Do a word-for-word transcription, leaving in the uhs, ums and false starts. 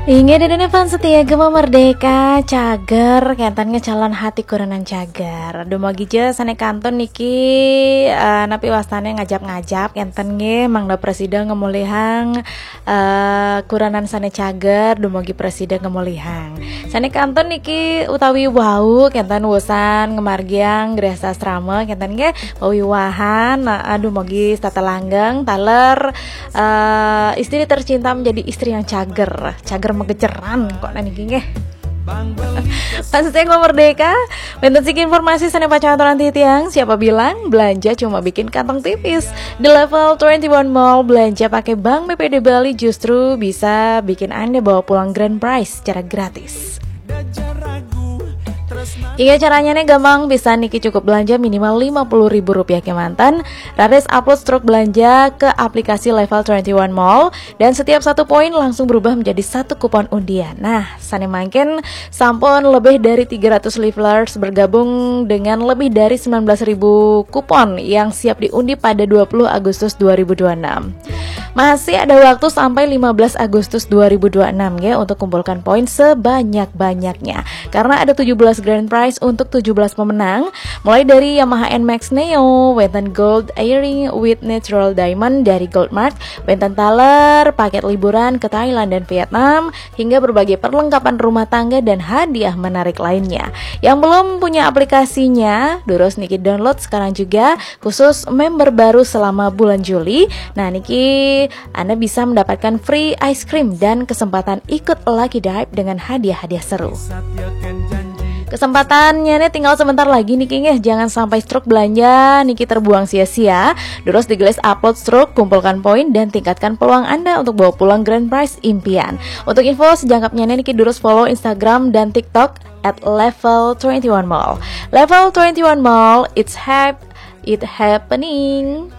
Inggih, dene fans setia Gema Merdeka, cager, kenten nge calon hati kurenan cager. Dumogi je sane kantun niki, eh, napi wastane ngajap-ngajap, kenten nggih, mangda prasida ngemulihang, eh, kurenan sane cager, dumogi prasida ngemulihang. Sane kantun niki utawi wau, kenten wusan ngemargiang grehasasrama, kenten nggih, pawiwahan, eh, dumogi setata langgeng, taler, eh, istri tercinta menjadi istri yang cager, cager megeceran kok niki nggih. Fans setia Gema Merdeka, wenten siki informasi sane pacang aturan titiang, siapa bilang belanja cuma bikin kantong tipis. Di Level twenty-one Mall, belanja pakai Bank B P D Bali justru bisa bikin Anda bawa pulang grand prize secara gratis. Iya, caranya nih gampang, bisa niki cukup belanja minimal lima puluh ribu rupiah kemanten, raris upload struk belanja ke aplikasi Level twenty-one Mall, dan setiap satu poin langsung berubah menjadi satu kupon undian. Nah, sane mangkin sampun lebih dari tiga ratus levelers bergabung dengan lebih dari sembilan belas ribu kupon yang siap diundi pada dua puluh Agustus dua ribu dua puluh enam. Masih ada waktu sampai lima belas Agustus dua ribu dua puluh enam ya, untuk kumpulkan poin sebanyak-banyaknya. Karena ada tujuh belas grand prize untuk tujuh belas pemenang, mulai dari Yamaha N max Neo, wenten gold earring with natural diamond dari Goldmark, wenten taler, paket liburan ke Thailand dan Vietnam, hingga berbagai perlengkapan rumah tangga dan hadiah menarik lainnya. Yang belum punya aplikasinya, durus niki download sekarang juga, khusus member baru selama bulan Juli. Nah, niki Anda bisa mendapatkan free ice cream dan kesempatan ikut lucky dive dengan hadiah-hadiah seru. Kesempatannya nih tinggal sebentar lagi niki nggih, jangan sampai struk belanja niki terbuang sia-sia. Durus digelis upload struk, kumpulkan poin, dan tingkatkan peluang Anda untuk bawa pulang grand prize impian. Untuk info sejangkepnya niki durus follow Instagram dan TikTok at Level twenty-one Mall. Level twenty-one Mall, it's hype, it happening.